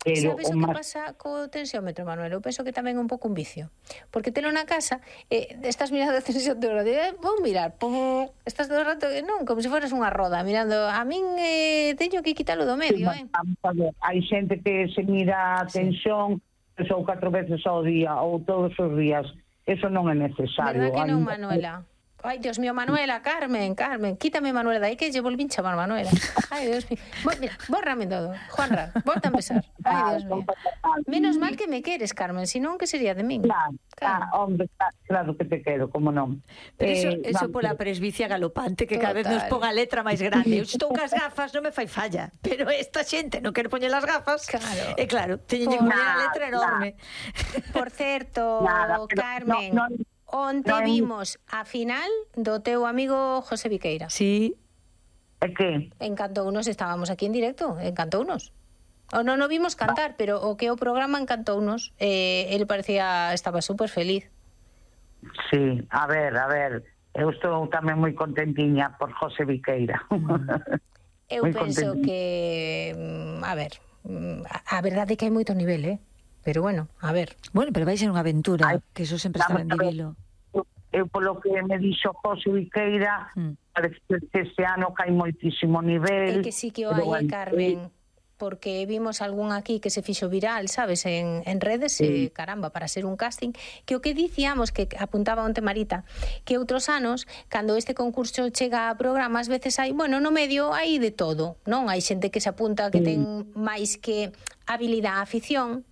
Pero sabes o que pasa co tensiómetro, Manuel? Eu penso que tamén é un pouco un vicio. Porque telo na casa, estás mirando a tensión todo o rato, vou mirar, estás todo o rato, non, como se foras unha roda, mirando. A min teño que quitalo do medio, Hai xente que se mira a tensión, ou 4 veces ao día, ou todos os días. Eso non é necesario. Verdad que non, Manuela? Ai, Dios mío, Manuela, Carmen, quítame Manuela de aí que lle volvín chamar Manuela. Ai, Dios mío. Mira, bórrame todo. Juanra, volta a empezar. Ai, Dios mío. Menos mal que me queres, Carmen, senón que sería de min. Claro, hombre, claro que te quero, como non. Pero eso pola presbicia galopante, que cada vez nos pon a letra máis grande. Eu estou cas gafas, non me fai falla, pero esta xente non quere poñer as gafas. Claro. E claro, teñen que poñer a letra enorme. Por certo, Carmen, onte vimos a final do teu amigo José Viqueira. Sí. É que? Encantounos, estábamos aquí en directo, encantounos. O non o vimos cantar, pero o que o programa encantounos. Ele parecía, estaba super feliz. Sí, a ver, eu estou tamén moi contentiña por José Viqueira. Eu penso que, a ver, a verdade é que hai moito nivel, pero bueno, a ver. Bueno, pero vai ser unha aventura, que eso sempre está ben vivilo. Eu polo que me dixo José Viqueira, parece que este ano cae moitísimo nivel. É que sí que o hai, Carmen, porque vimos algún aquí que se fixo viral, sabes, en redes, caramba, para ser un casting, que o que dicíamos, que apuntaba onte Marita, que outros anos, cando este concurso chega a programa, ás veces hai, bueno, no medio hai de todo, non? Hai xente que se apunta que ten máis que habilidade a afición,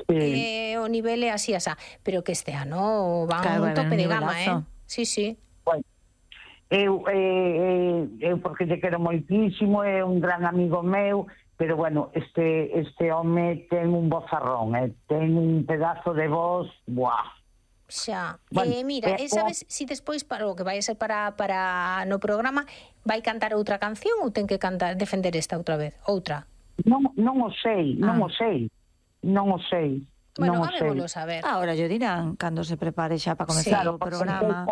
o nivel é así, asá, pero que este ano van un tope de gama, Sí, sí. Bueno, eu porque lle quero moitísimo, é un gran amigo meu, pero bueno, este home ten un vozarrón, ten un pedazo de voz, buah. Xa, mira, sabes si despois para o que vai a ser para no programa vai cantar outra canción ou ten que cantar, defender esta outra vez? Outra? Non o sei. Bueno, habémoslo saber. Ahora yo dirán cando se prepare xa para comezar o programa.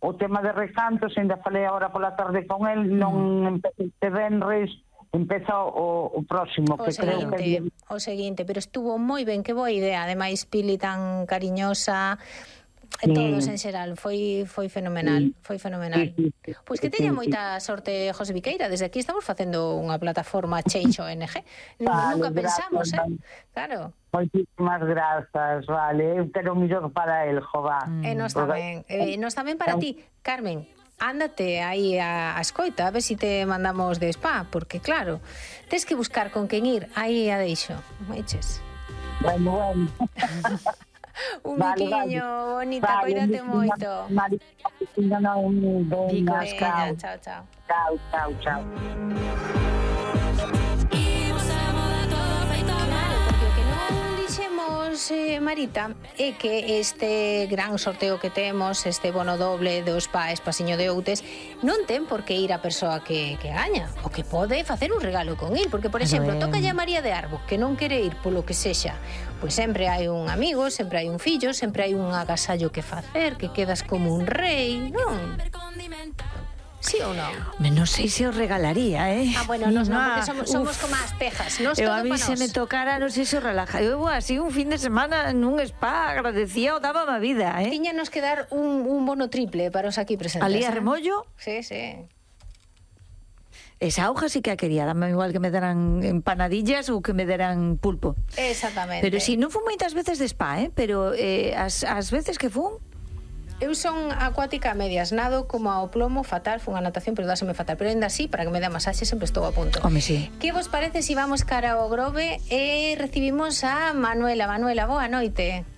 O tema de recantos, ainda falei agora pola tarde con el, non empecé este venres, empeza o próximo, que creo que o seguinte, pero estuvo moi ben, que boa idea, ademais Pili tan cariñosa, todos en xeral, foi fenomenal, Pois que teña moita sorte José Viqueira, desde aquí estamos facendo unha plataforma Change ONG, nunca pensamos, claro. Moitísimas grazas, vale, eu quero o mellor para el, jová. E nos tamén para ti, Carmen. Ándate aí a escoita, a ver se te mandamos de spa, porque claro, tes que buscar con quen ir, aí a deixo, maiches. Bueno. Un biquiño, bonita, cuídate moito. Chao, chao. Chao. Marita, é que este gran sorteo que temos, este bono doble do Spa Espasiño de Outes, non ten por que ir a persoa que gaña, o que pode facer un regalo con il, porque, por exemplo, toca a María de Arbo, que non quere ir polo que sexa, pois sempre hai un amigo, sempre hai un fillo, sempre hai un agasallo que facer, que quedas como un rei, non? Sí ou non? Non sei se os regalaría, bueno, nos non, porque somos como as pejas. Eu a mí se me tocara, non sei se os relaja. Eu así un fin de semana nun spa, agradecía o daba a vida, Tiñanos que dar un bono triple para os aquí presentes. Ali a remollo? Sí. Esa hoja sí que a quería, dame igual que me deran empanadillas ou que me deran pulpo. Exactamente. Pero si, non fun moitas veces de spa, pero as veces que fun, eu son acuática a medias, nado como ao plomo fatal, fun a natación, pero dáseme fatal, pero ainda así, para que me dé masaxe, sempre estou a punto. Home, sí. Que vos parece se vamos cara ao Grove e recibimos a Manuela? Manuela, boa noite.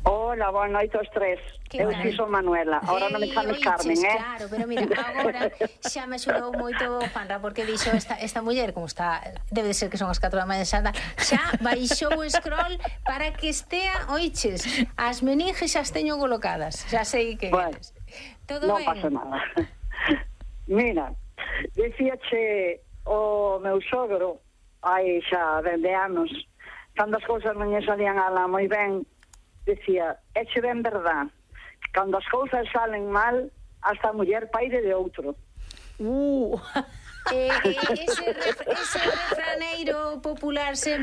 Hola, boa noite aos tres. Eu si son Manuela, ahora non me chames Carmen, Claro, pero mira, agora xa me axudou moito Juanra, porque dixo esta muller, como está, debe de ser que son as 4 da mañá xa baixou o scroll para que estea, oiches, as meninges xa as teño colocadas, xa sei que eres. Todo non ben? Non pasa nada. Mira, dicíache o meu sogro, hai xa 20 anos, cando as cousas non lle salían ala moi ben, decía, eche ben verdad, cando as cousas salen mal, hasta a muller paire de outro. Ese refraneiro popular sempre